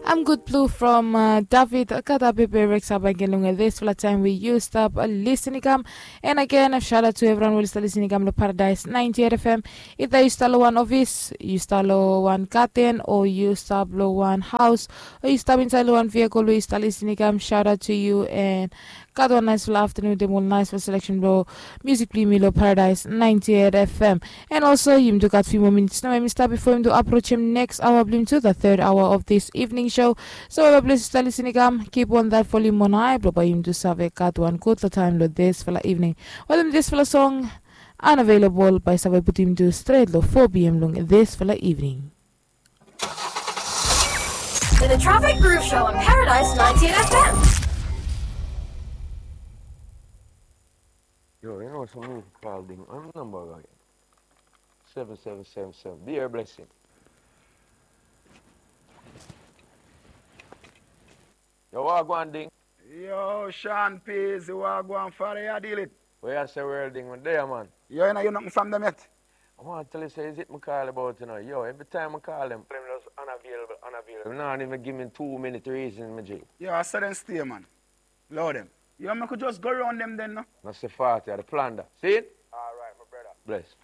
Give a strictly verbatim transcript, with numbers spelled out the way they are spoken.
I'm good blue from uh, David Kata Pepe Rex Abangin long this fala time we you stop uh, listening come. And again, a shout out to everyone who start listening come to Paradise ninety-eight F M. Either you start lo one office, you start lo one garden, or you start lo one house, or you start inside lo one vehicle where you start listening come. Shout out to you and gat wan naesfala aftanun wetem ol naesfala selection blong musik blong yumi long Paradise ninety-eight F M. And also yumi tu gat few more minutes nao we yumi stap before yumi tu approach him next hour blong yumi tu the third hour of this evening show. So wherever place you start listening come, keep on that volume on high blong bae yumi tu save gat wan gudfala time long this fala evening. Wetem this fala song, Unavailable, bae save putum yumi tu straight long four p.m. long this fala evening. To the Traffic Groove Show on Paradise ninety-eight F M. Yo, you know some new call ding. I'm number again. Seven seven seven seven. Be your blessing. Yo, wagwan ding. Yo, Sean Peasy, wagwan, fada, ya deal it. Weh yuh a seh, world ding, mi deh yah, man. Yo, yuh nuh hear nothing from dem yet? I waan tell yuh seh, is it mi call yuh bout, yuh know. Yo, every time mi call dem, dem just unavailable, unavailable. Dem nah even gi mi two minute reason, mi G. Yo, a so dem stay, man. Lord dem. Yo, mek wi just go round dem den, nuh? Nuh seh forty a di plunder. Seen? Alright, mi bredda. Bless.